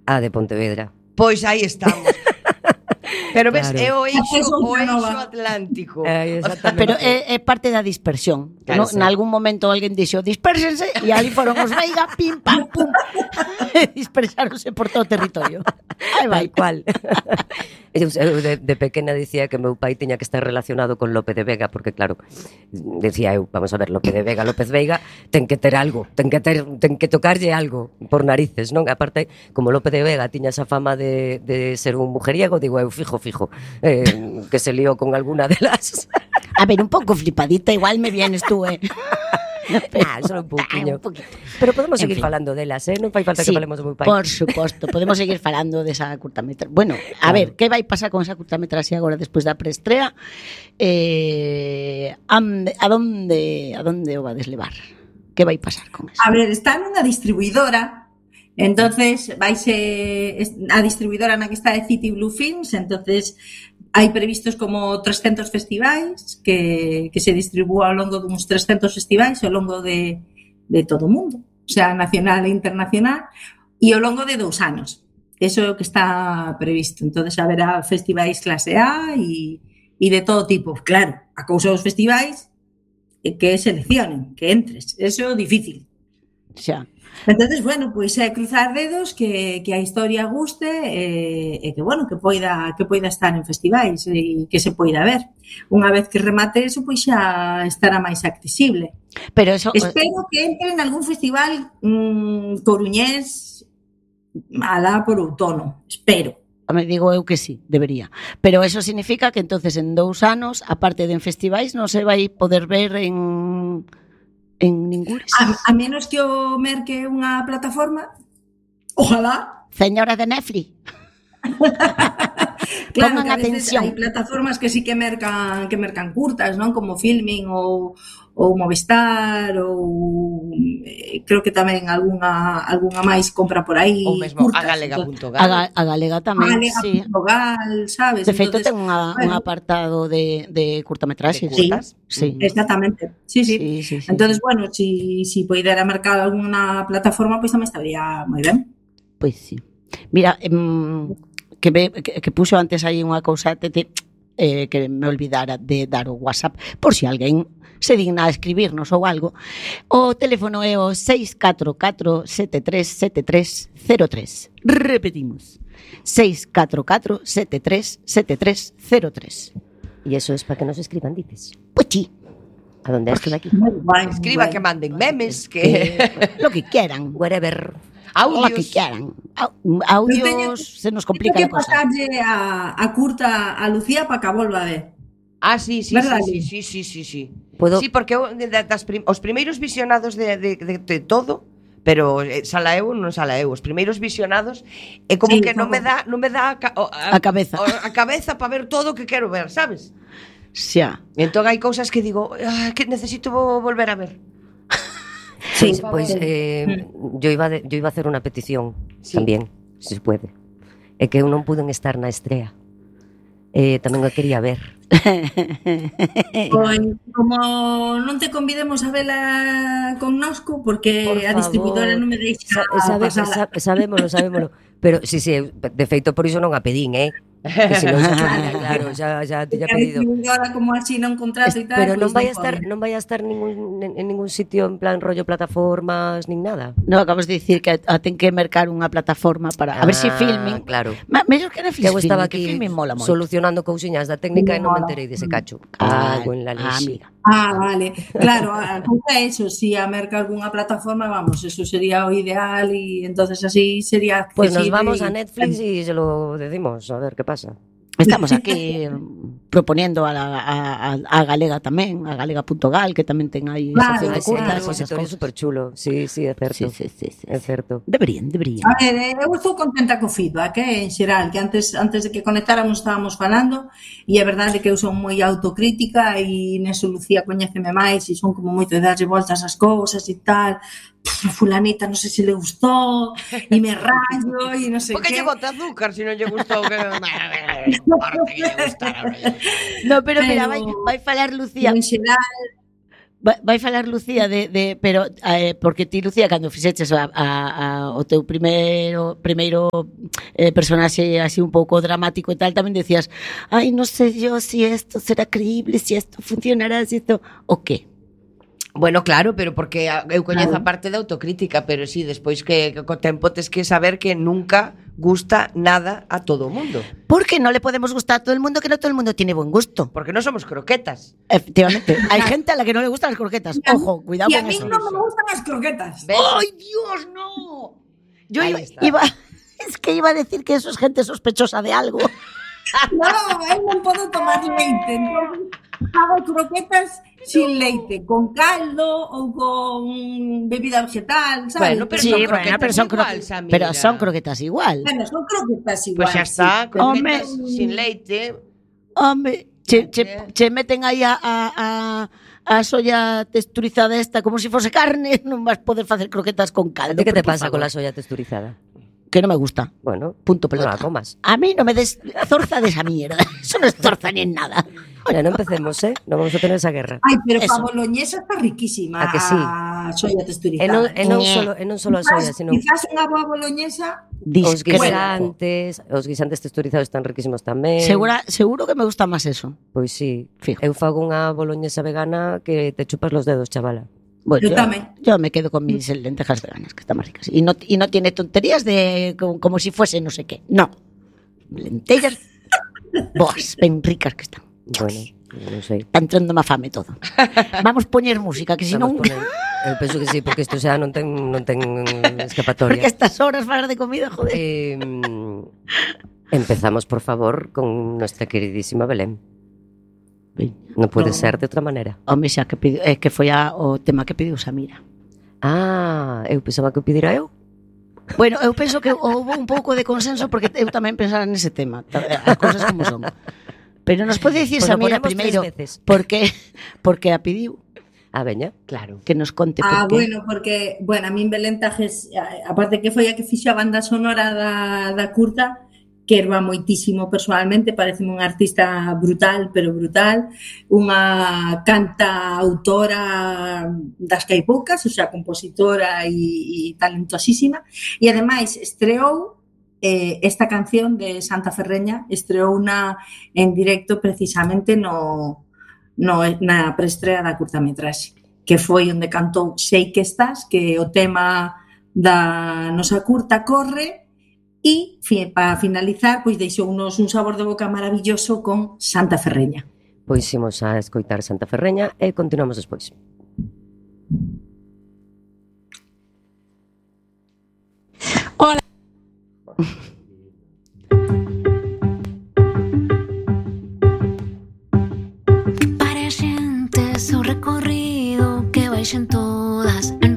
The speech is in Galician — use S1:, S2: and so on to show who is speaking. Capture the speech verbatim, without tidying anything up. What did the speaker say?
S1: A de Pontevedra.
S2: Pois aí estamos. Pero ves,
S1: Claro.
S2: é o eixo,
S3: Esa é
S2: o
S3: outra
S2: eixo
S3: nova.
S2: atlántico.
S1: Eh, exactamente.
S4: Pero é, é parte da dispersión.
S1: Claro,
S4: No,
S1: sí.
S4: en algún momento alguén dixo dispérsense e ali foron os Veiga, pim, pam, pum. Dispersáronse por todo o territorio. Aí vai.
S1: Tal cual. Eu, eu de, de pequena dicía que meu pai tiña que estar relacionado con Lope de Vega, porque claro, decía eu, vamos a ver, Lope de Vega, López Veiga ten que ter algo, ten que ter, ten que tocarlle algo por narices, non? Aparte, como Lope de Vega tiña esa fama de, de ser un mujeriego, digo eu, fijo, fijo, eh, que se lió con alguna de las...
S4: A ver, un pouco flipadita, igual me vienes tú, eh.
S1: Ah, solo un pouquiño.
S4: un poquito.
S1: Pero podemos
S4: En
S1: seguir
S4: fin.
S1: falando delas, eh? Non fai falta que falemos do meu pai.
S4: Por suposto, podemos seguir falando desa curtametraxe. Bueno, a
S1: Claro.
S4: ver, que vai pasar con esa curtametraxe agora despois da preestrea? Eh, ande, a donde a donde o vades levar? Que vai pasar con eso?
S3: A ver, está nunha distribuidora. Entonces, vaise a distribuidora na que está de City Blue Films, entonces hai previstos como trescentos festivais que, que se distribúa ao longo duns trescentos festivais ao longo de, de todo o mundo, o sea, nacional e internacional, e ao longo de dous anos. Eso é o que está previsto. Entonces, haberá festivais clase A e, e de todo tipo. Claro, a cousa dos festivais é que seleccionen, que entres. Eso é difícil.
S4: Xa.
S3: Entonces, bueno, pois é cruzar dedos que, que a historia guste e, e que, bueno, que poida, que poida estar en festivais e que se poida ver. Unha vez que remate eso, pois xa estará máis accesible.
S4: Pero eso
S3: Espero que entre en algún festival mmm, coruñés alá por outono. Espero.
S4: me digo eu que sí, debería. Pero eso significa que entonces en dous anos, aparte de en festivais, non se vai poder ver en en ningures.
S3: A, a menos que o merque unha plataforma, ojalá.
S4: Señora de Netflix.
S3: Claro,
S4: Pongan
S3: que a veces
S4: atención.
S3: hai plataformas que sí que mercan que mercan curtas, non? Como Filmin ou ou Movistar ou eh, creo que tamén algunha algunha máis compra por aí
S2: Ou mesmo
S3: curtas.
S2: a galega punto
S4: A,
S2: gal.
S4: ga, a galega tamén,
S3: Galega
S4: sí.
S3: punto gal, sabes?
S4: De feito,
S3: Entonces,
S4: ten unha, un
S3: bueno,
S4: apartado de, de curtametraxes.
S3: Sí.
S4: Sí.
S3: exactamente. Sí, sí.
S4: Sí, sí, sí,
S3: Entonces,
S4: sí.
S3: bueno, si si poidera mercar algunha plataforma, pois pues, tamén estaría moi ben.
S4: Pois sí. Mira, em, que, me, que, que puxo antes aí unha cousa te, te, eh, que me olvidara de dar o WhatsApp, por si alguén se digna a escribirnos ou algo. O teléfono é o seis catro catro sete tres sete tres cero tres. Repetimos. seis catro catro sete tres sete tres cero tres.
S1: Y eso es para que nos escriban, dices.
S4: Pois sí,
S1: ¿A dónde es que aquí?
S3: Moi guai, moi
S2: Escriba
S3: guai.
S2: que manden memes, que
S4: lo que quieran.
S1: Whatever.
S4: Lo que
S2: audios.
S4: quieran. Au-
S3: Eu
S4: Audios,
S3: teño-
S4: se nos
S3: Tengo
S4: complica
S3: que
S4: a cosa.
S3: pasarlle a, a curta a Lucía para que a volva a ver.
S2: Ah, sí, sí,
S3: Verdad,
S2: sí,
S3: Lili?
S2: sí, sí, sí, sí.
S1: Puedo-
S2: Sí, porque eu, de, das prim, os primeiros visionados de, de, de, de todo, pero eh, sala eu non sala eu, os primeiros visionados é como
S3: Sí,
S2: que non
S3: como-
S2: me dá non me dá a, ca- o-
S4: A cabeza.
S2: o- a cabeza para ver todo o que quero ver, sabes?
S4: Xa.
S2: Entón hai cousas que digo, ah, que necesito vo- volver a ver.
S1: Pues,
S3: Sí.
S1: pues eh, yo, iba de- yo iba a hacer una petición
S2: Sí.
S1: también, si se puede. É que eu non pude estar na estrea. Eh, tamén o quería ver.
S3: Pois, como non te convidemos a vela connosco, porque
S1: Por
S3: a distribuidora
S1: favor.
S3: non me deixa
S1: Sa sabe,
S3: pasala.
S1: sa sabémolo, sabémolo. Pero sí, sí, eu, de feito por iso non a pedín, eh? Que se non se chupara, claro, xa, xa tiña
S3: A
S1: pedido.
S3: distribuidora como así non contrato e tal,
S1: Pero non
S3: pois
S1: vai a estar,
S3: pode.
S1: non vai a estar ningún, en, en ningún sitio en plan rollo plataformas nin nada.
S4: No, acabas de dicir que a ten que mercar unha plataforma para a ver se si
S1: Ah,
S4: Filmin.
S1: claro.
S4: Ma, mellor que Netflix.
S1: Que eu estaba
S4: Filmin, que
S1: aquí
S4: Filmin mola moito.
S1: solucionando cousiñas da técnica e non me
S3: Mola.
S1: enterei dese cacho.
S4: Ah,
S1: Cago en la
S4: ah,
S1: leche.
S4: amiga.
S3: Ah, vale. Claro, a cousa é eso, si a merca algunha plataforma, vamos, eso sería o ideal e entonces así sería
S1: Pues nos
S3: accesible
S1: vamos
S3: y-
S1: a Netflix y se lo decimos, a ver qué pasa.
S4: Estamos aquí proponiendo a, la, a, a, a Galega tamén, a galega punto gal, que tamén ten aí
S3: Claro,
S4: sección de
S3: sí,
S4: curtas,
S3: claro,
S4: esas
S1: repositorio
S4: cousas.
S1: super chulo. Sí, sí, é certo.
S4: Sí, sí, sí, sí,
S1: É
S4: sí.
S1: certo.
S4: Deberían, deberían.
S3: A ver, eh, eu estou contenta co feedback, eh, en xeral, que antes antes de que conectáramos estábamos falando e é verdade que eu son moi autocrítica e neso Lucía coñéceme máis e son como moito de darlle voltas ás cousas e tal. Pff, a fulanita non sei se le gustou e me rayo e non sei
S2: Porque
S3: que.
S2: lle bota azúcar se non lle gustou que importa que lle gustara.
S4: No, pero, mira,
S3: Pero-
S4: vai, vai falar Lucía.
S3: En xeral,
S4: vai, vai falar Lucía de, de pero eh, porque ti Lucía cando fixeches a, a, a, o teu primeiro primeiro eh, personaxe así un pouco dramático e tal, tamén decías, ai, non sei yo si esto será creíble, si esto funcionará, si esto o qué?
S2: Bueno, claro, pero porque eu coñezo a parte da autocrítica, pero sí, despois que, que co tempo tes que saber que nunca gusta nada a todo o mundo.
S4: Porque non le podemos gustar a todo el mundo, que no todo el mundo tiene buen gusto.
S2: Porque non somos croquetas.
S4: Efectivamente, hai gente a la que non le gustan las croquetas. Ojo, cuidado
S3: y a
S4: con
S3: mí
S4: eso.
S3: no me gustan las croquetas.
S2: ¿Ves?
S4: ¡Ay, Dios, no! Yo
S2: Ahí
S4: iba,
S2: está.
S4: iba, es que iba a decir que eso es gente sospechosa de algo.
S3: No, eu non podo tomar leite, entón hago croquetas sin leite, con caldo ou con bebida vegetal, sabes?
S2: Bueno, pero
S4: Sí,
S2: son
S4: bueno,
S2: croquetas
S4: pero son,
S2: igual,
S4: croquetas,
S2: Samira.
S4: pero son croquetas igual.
S3: Bueno, son croquetas igual.
S2: Pois xa está,
S3: sí, pero-
S2: croquetas
S4: Home.
S2: sin leite.
S4: Hombre, che, che, che meten aí a, a, a, a soya texturizada esta como se si fose carne, non vas poder facer croquetas con
S1: ¿A
S4: caldo.
S1: ti qué te
S4: por
S1: pasa
S4: favor.
S1: con la soya texturizada?
S4: Que no me gusta.
S1: Bueno,
S4: Punto
S1: no
S4: pelota.
S1: la comas.
S4: A mí no me des zorza de esa mierda. Eso no es zorza ni en nada.
S1: Ya no empecemos, ¿eh? No vamos a tener esa guerra.
S3: Ai, pero
S4: Eso.
S3: a boloñesa está riquísima.
S1: A que sí?
S3: A soya
S1: E
S3: texturizada.
S1: non, e non
S4: Ñe.
S1: solo, e non solo a soya,
S3: Quizás,
S1: sino
S3: quizás unha boa boloñesa
S1: os
S4: Discreto.
S1: guisantes, os guisantes texturizados están riquísimos tamén.
S4: Segura, seguro que me gusta más eso.
S1: Pois sí.
S4: Fijo.
S1: Eu fago unha boloñesa vegana que te chupas los dedos, chavala.
S4: Bueno,
S3: Yo también.
S4: yo me quedo con mis lentejas veganas, que están más ricas. Y no, y no tiene tonterías de como, como si fuese no sé qué. No. Lentellas. Boas, ben ricas que están.
S1: Bueno, non sei.
S4: Está entrando má fame todo. Vamos poñer música, que si non...
S1: Vamos poner- Eu penso que sí, porque isto xa non ten, non ten
S4: Porque
S1: escapatoria.
S4: a estas horas falar de comida, joder.
S1: Eh, empezamos, por favor, con nuestra queridísima Belén. Non pode
S3: No.
S1: ser de outra maneira.
S4: Home, xa que, pediu, é que foi a, o tema que pediu Samira.
S1: Ah, eu pensaba que o pedira eu.
S4: Bueno, eu penso que houve un pouco de consenso porque eu tamén pensara nese tema, ta- as cousas como son. Pero nos pode dicir
S1: Pois a
S4: Samira
S1: ponemos
S4: primeiro
S1: tres veces.
S4: porque porque a pediu
S1: A veña.
S2: Claro.
S4: que nos conte por
S3: Ah,
S4: qué.
S3: bueno, porque, bueno, a min Belén Tajes, a- aparte que foi a que fixo a banda sonora da, da curta, que erva moitísimo personalmente, parece unha artista brutal, pero brutal, unha canta autora das que hai poucas, o sea, compositora e, e talentosísima, e ademais estreou eh, esta canción de Santa Ferreña, estreou una en directo precisamente no, no, na preestrea da curtametraxe, que foi onde cantou Sei que estás, que é o tema da nosa curta Corre, e fi- para finalizar, pois deixounos un sabor de boca maravilloso con Santa Ferreña.
S1: Pois imos a escoitar Santa Ferreña e continuamos despois.
S5: Para a xente seu recorrido que baixen todas en